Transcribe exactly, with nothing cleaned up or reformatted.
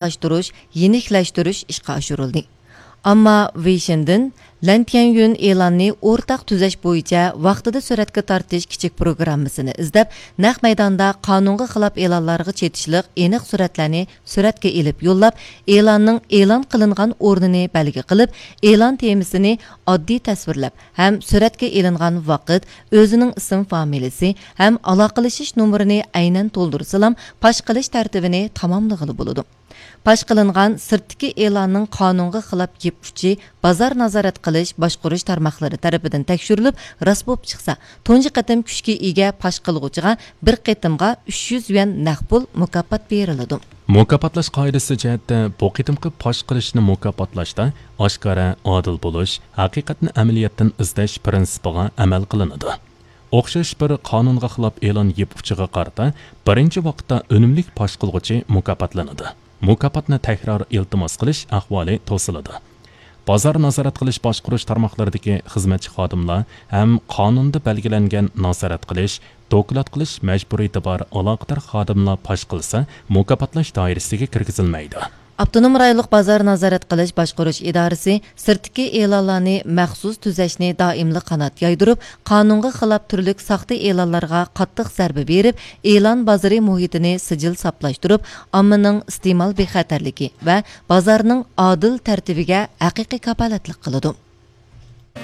ئايدىڭلاشتۇرۇش، يېنىكلەشتۈرۈش ئىشقا ئاشۇرۇلدى. ئەمما ۋېي شېندېن لەن تيەنيۈن ئېلاننى ئورتاق تۈزەش بويىچە ۋاقتىدا سۈرەتكە تارتىش كىچىك پروگراممىسىنى ئىزدەپ، نەق مەيداندا قانۇنغا خىلاپ ئېلانلارغا چېتىشلىق ئېنىق سۈرەتلەرنى سۈرەتكە ئېلىپ يوللاپ، ئېلاننىڭ ئېلان قىلىنغان ئورنىنى بەلگە قىلىپ، ئېلان تېمىسىنى ئاددىي تەسۋىرلەپ ھەم سۈرەتكە ئېلىنغان ۋاقىت، ئۆزىنىڭ ئىسىم فامىلىسى ھەم ئالاقىلىشىش نومۇرىنى ئەينەن تولدۇرسىلام، پاش قىلىش تەرتىپىنى تاماملىغىلى بولىدۇ. پاش قىلىنغان سىرتتىكى ئېلاننىڭ قانۇنغا خىلاپ يىپ ئۇچى بازار نازارەت قىلىش باشقۇرۇش تارماقلىرى تەرىپىدىن تەكشۈرۈلۈپ، راست بولۇپ چىقسا، تۇنجى قېتىم كۈچكە ئىگە پاش قىلغۇچىغا بىر قېتىمغا ئۈچ يۈز يۈەن نەق پۇل مۇكاپات بېرىلىدۇ. مۇكاپاتلاش قائىدىسى جەھەتتە بۇ قېتىمقى پاش قىلىشنى مۇكاپاتلاشتا ئاشكارا، ئادىل بولۇش، ھەقىقەتنى ئەمەلىيەتتىن ئىزدەش پىرىنسىپىغا ئەمەل قىلىنىدۇ. ئوخشاش بىر قانۇنغا خىلاپ ئېلان يىپ ئۇچىغا قارىتا بىرىنچى ۋاقىتتا ئۈنۈملۈك پاش قىلغۇچى مۇكاپاتلىنىدۇ. مۇكاپاتنى تەكرار ئىلتىماس قىلىش ئەھۋالى توسۇلىدۇ. بازار نازارەت قىلىش باشقۇرۇش تارماقلىرىدىكى خىزمەتچى خادىملار ھەم قانۇندا بەلگىلەنگەن نازارەت قىلىش، دوكلات قىلىش مەجبۇرىيىتى بار ئالاقىدار خادىملار پاش قىلسا، مۇكاپاتلاش دائىرىسىگە كىرگۈزۈلمەيدۇ. ئاپتونوم رايونلۇق بازار نازارەت قىلىش باشقۇرۇش ئىدارىسى سىرتتىكى ئېلانلارنى مەخسۇس تۈزەشنى دائىملىق قانات يايدۇرۇپ، قانۇنغا خىلاپ تۈرلۈك ساختا ئېلانلارغا قاتتىق زەربە بېرىپ، ئېلان بازىرى مۇھىتىنى سىجىل ساپلاشتۇرۇپ، ئاممىنىڭ ئىستېمال بىخەتەرلىكى ۋە بازارنىڭ ئادىل تەرتىپىگە ھەقىقىي كاپالەتلىك قىلىدۇ.